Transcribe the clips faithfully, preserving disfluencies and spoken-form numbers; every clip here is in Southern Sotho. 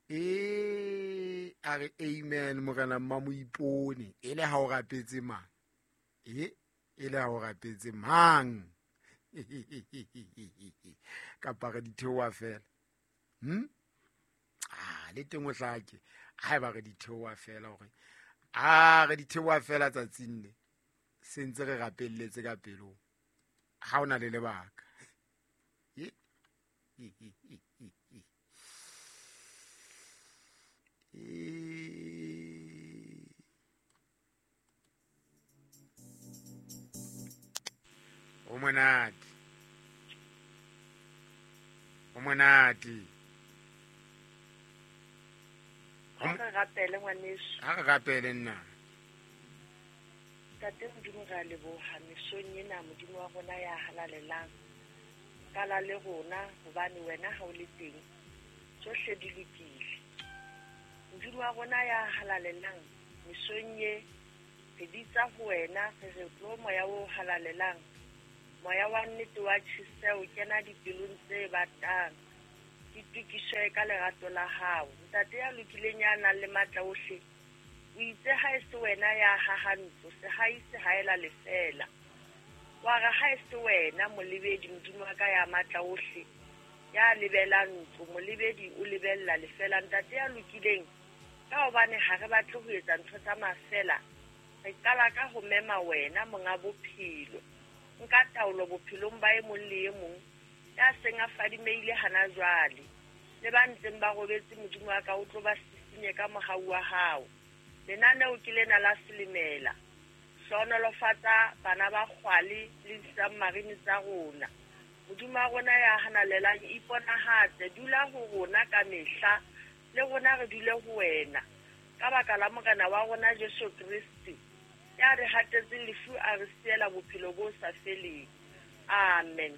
E a re amen morena Mmamoipone, e le ha o rapetse mang? E e le ha o rapetse mang? Kapa re di theoha fela. Hm? Ah, le teng o hlake. Haeba re di theoha fela hore ah re di theoha fela tsatsing le se ntse re rapelletse ka pelong. Ha ona le lebaka. E O monate. O monate. Ha re rapele ngwaneso. Ha re rapele nna. Ntate Modimo, re a leboha mesong ena, Modimo wa rona ya halalelang. Kala le rona hobane wena ha o le teng tsohle di lokile. Modimo wa rona ya halalelang, mesong ye re bitsa ho wena, re re tlo moya o halalelang, moya wa nnete wa tjheseho, kena dipelong tse batang, di tukiswe ka lerato la hao. Ntate ya lokileng ya nang le matla ohle, o itse ha e se wena ya haha ntlo, sehai se haela lefela. Wa re ha e se wena molebedi, Modimo wa ka ya matla ohle, ya lebelang ntlo, molebedi o lebella lefela. Ntate ya lokileng, ka hobane ha re batle ho etsa ntho tsa mafela, re qala ka ho mema wena monga bophelo. Nka taolo bophelong ba e mong le e mong ya seng a fadimeile hana jwale, le ba ntseng ba robetse, Modimo wa ka o tlo ba sisinye ka mohau wa hao. Lenaneo ke lena la Selemela. Hlohonolofatsa bana ba Kgwale le di-submarine tsa rona. Modimo wa rona ya hanalelang, iponahatse, dula ho rona ka mehla, le rona re dule ho wena. Ka baka la Morena wa rona Jesu Kriste, ya re hatetseng lefu a re siela bophelo bo sa feleng. Amen.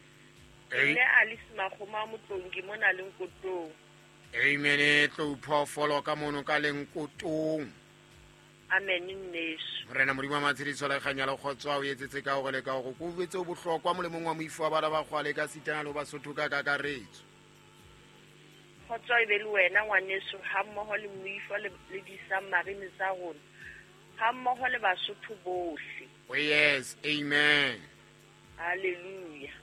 Nne Alice Makgoma Motlongi mona Lenkotong. Amen. Tlo phoofolo ka mono ka Lenkotong. Amen nneso. Morena Modimo wa matshediso le kganya le kgotso o etsetse ka hore le ka hore ko betse o bohlokwa molemong wa moifo wa bana ba Kgwale ka sitana le Basotho ka kakaretso. Kgotso e be le wena ngwaneso, ha mmoho le moifo le le di-submarine tsa rona, ha mmoho le Basotho bohle. Oh yes, amen. Hallelujah.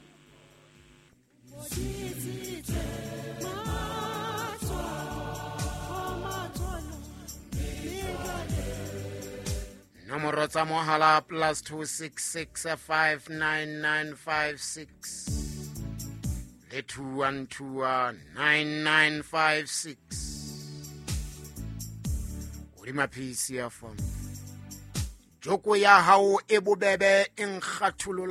Nomoro tsa mohala plus two six six five nine nine five six le two one two nine nine five six. Hodima P C F M. Joko ya hao e bobebe e nkgatholola.